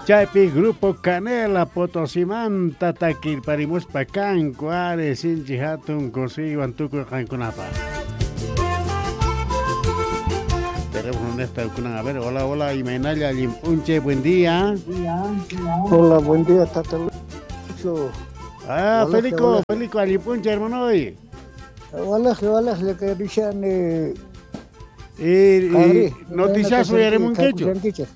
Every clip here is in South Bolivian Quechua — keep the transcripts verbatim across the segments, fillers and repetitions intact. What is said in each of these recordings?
Chaypi Grupo Canela Potosimanta takirparimuspa kanku ari sinchi hatun kusiywan tukuy qankunapaq. Tenemos nesta kunan, a ver, hola, hola, imaynalla allin p'unchay, buen día. Hola, buen día, Tata Lucho. Ah, hola, Felico, hola. Felico, allin p'unchay, hermano. Hola, hola, le que dicen y, y noticias uyarimunkichu.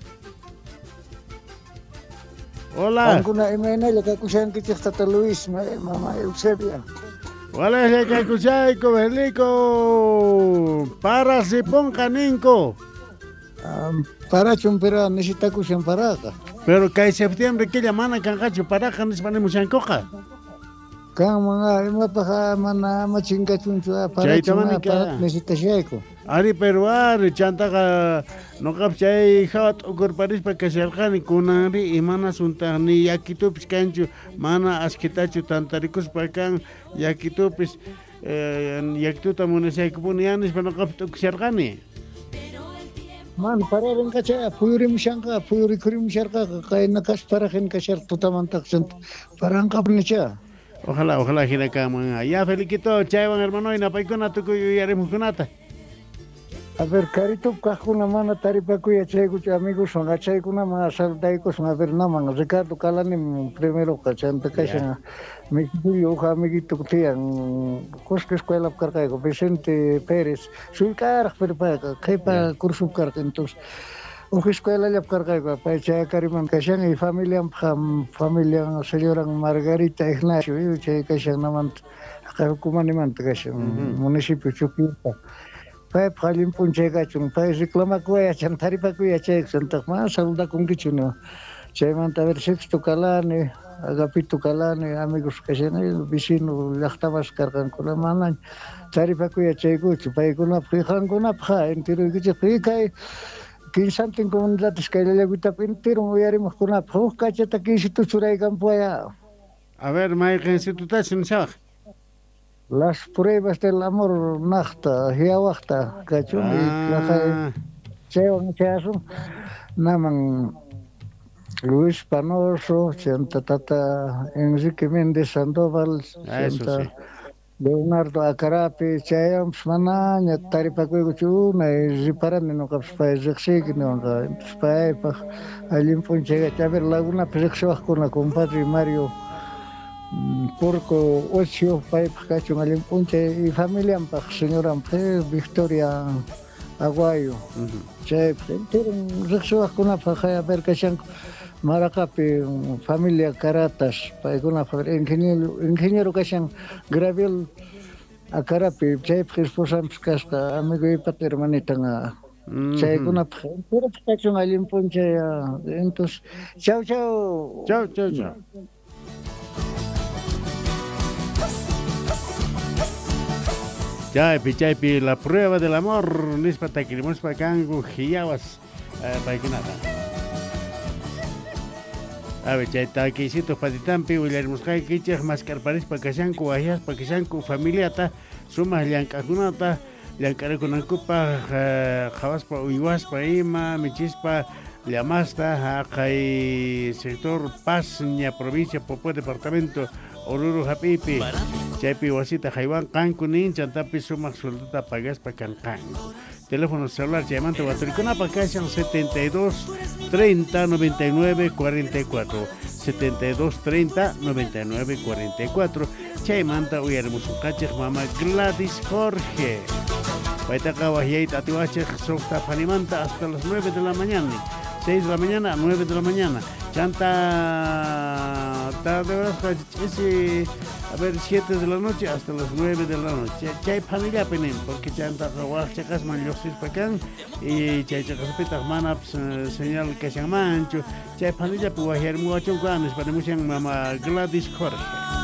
Hola. Qankuna imaynalla kakushankichik Tata Luis, mama Eusebia. Hola, kakushayku, Felico. Para si ponga ninko. Um, parachun pero necesitakushan paraqa. Pero kay septiembre killa mana kanqachu paraqa nispa nimushankuqa. Kanman imapaq mana ama chinkachunchu parachun para necesitashayku. Ari pero ari chantaqa noqap chay hawa t'ukurparispa kasharqani kunanri imana suntaq ni yakitupis kanchu mana askitachu tantarikuspa kan yakitupis eh, yakituta munashaykupuni ya nispa noqap t'ukusharqani. Man pararinqacha puyurimushanqa puyurikurimusharqaqa qayna kas parajin kashar tutamantaq paranqapunicha. Ojalá, ojalá hina kanman. Ya Feliquito, chaywan hermano inapaykuna tukuy uyarimuqkunata. A ver, Caritup kaqkuna mana taripakuy yachaykuchu amigoswan achaykunaman saludaykusun a ver naman Ricardo Calanim primeroqa chanta kashan Mexicillo uj amiguito tiyan Cusco escuelap karqayku Vicente Pérez sullk'araq pero payqa qhipa cursup karqa entonces uj escuelallap karqayku pay chayakariman kashan y familianpaq familian señoran Margarita Ignacio chay kashan namanta Hukumanimanta kashan municipio Chuquilpa. Paypaq allin p'unchay kachun pay reclamakuy yachan taripakuy yachayku mana saludakunkichu no chaymanta a ver Sexto Calani Agapito Calani amigos kashani vecino llaqtamas karqankuna mana taripakuy yachaykuchu paykunapaq qankunapaq enteruykichik kay kinsantin comunidades kayllakuytapi entero uyarimuqkunapaq huk kachata kinsito churaykanpuaya. A ver, mayqinsitutachu nishawaq. Las pruebas del amor naqta, hiawaqta kachun ah. Chaywan chayasun naman Luis Panoso, chanta tata Enrique Méndez Sandoval, chanta sí. Leonardo Acarapi, chayanpas manaña taripakuykuchu unay riparani nuqapas pay riqsiyki niwanqa paypaq allin p'unchay a ver Lagunapi riqsiwaqkuna compadre Mario Porco Ocio paypaq kachun allin p'unchay y familianpaq señoranpaq Victoria Aguayo chaypaq entero riqsiwaqkunapaq a ver kashanku Maraqapi familia Caratas paykunapaq ingeniero ingeniero kashan Graviel Acarapi chaypaq esposanpis kasqa amiguypata hermanitan chaykunapaq entero kachun allin p'unchay entonces chau chau chau chau chau. Chaypi, chaypi, la prueba del amor, nispa takirimuspa kanku hiyawas paykunata. A ver, chay takisitos patitampi willarimusqaykichik maskarparispa kashanku, wahyaspa kashanku familiata, sumaq llank'aqkunata, llank'arikunankupaq qhawaspa uywaspa ima, michispa llamasta, haqay sector Pasña, provincia Popó, departamento Oruro hap'ipi. Chaypi wasita haywanqanku nin chantapi sumaq sueldota pagaspa kanqanku. Teléfono celular chaymanta waturikunapaq kashan setenta y dos treinta noventa y nueve cuarenta y cuatro setenta y dos treinta noventa y nueve cuarenta y cuatro chaymanta uyarimusunqachik mama Gladys Jorge. Paytaqa wahyayta atiwachik suqta phanimanta hasta las nueve de la mañana. seis de la mañana a nueve de la mañana. Chanta tarde horas a ver siete de la noche hasta las nueve de la noche. Chay phanillapi nin porque chantaqa waj chaqasman lluqsispa kan y chay chaqaspitaq manapas señal kashanmanchu. Chay phanillapi wahyarimuwachunku nispa nimushan mama Gladys Jorge.